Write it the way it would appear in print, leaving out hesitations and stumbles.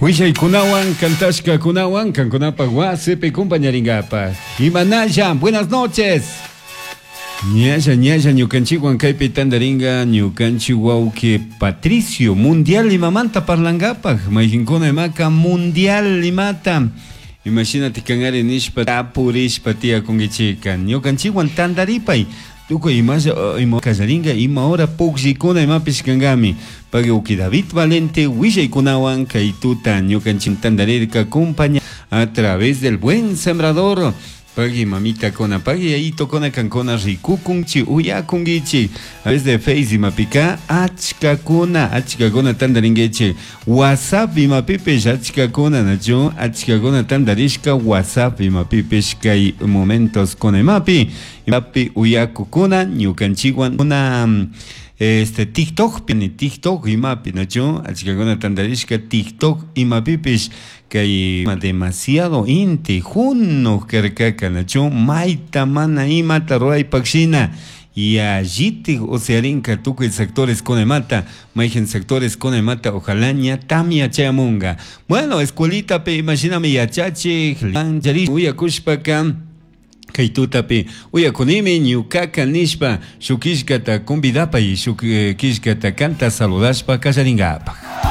Huillaicunahuan, cantashcacunahuan, cancunapaj huasipi compañaringapaj. Imanalla, buenas noches. Ñalla, ñalla ñukanchikwan kaypi tandaringa ñukanchik wawqi Patricio Mundial imamanta parlangapaj mayqinkuna imaka Mundial imata imashinatik kanari nishpa tapurishpa tiyakunkichika ñukanchikwan tandaripay tukuy imalla ima kallaringa ima hora pukllikuna imapish kankami pagui wawqi David Valente willaykunawan kay tuta ñukanchik tandarirka compaña a través del buen sembrador. Pagui mamitakuna, pagui yayitokuna kankuna rikukunchi, uyakunkichik. Desde Face imapika achkakuna, achkakuna tandarinkichik. WhatsApp imapipish achkakuna, nachu? Achkakuna tandarishka WhatsApp imapipish kay momentos kuna imapi, imapi uyakukuna ñukanchikwan una este TikTokpi, TikTok imapi, nachu? Achkakuna tandarishka TikTok imapipish Kay demasiado inti junuj karkaka nachu mayta mana imata ruraypak shina yallitik usiarinka tukuy sectores kunaymanta mayqin sectores kunaymanta ojalá ña tamya chayamunga. Bueno, escuelitapi imashinami yachachik uyakushpaka Kay tutapi uyakunimi ñukaka nishpa shuk killkata convidapay shuk killkata kanta saludashpa kallaringapaj.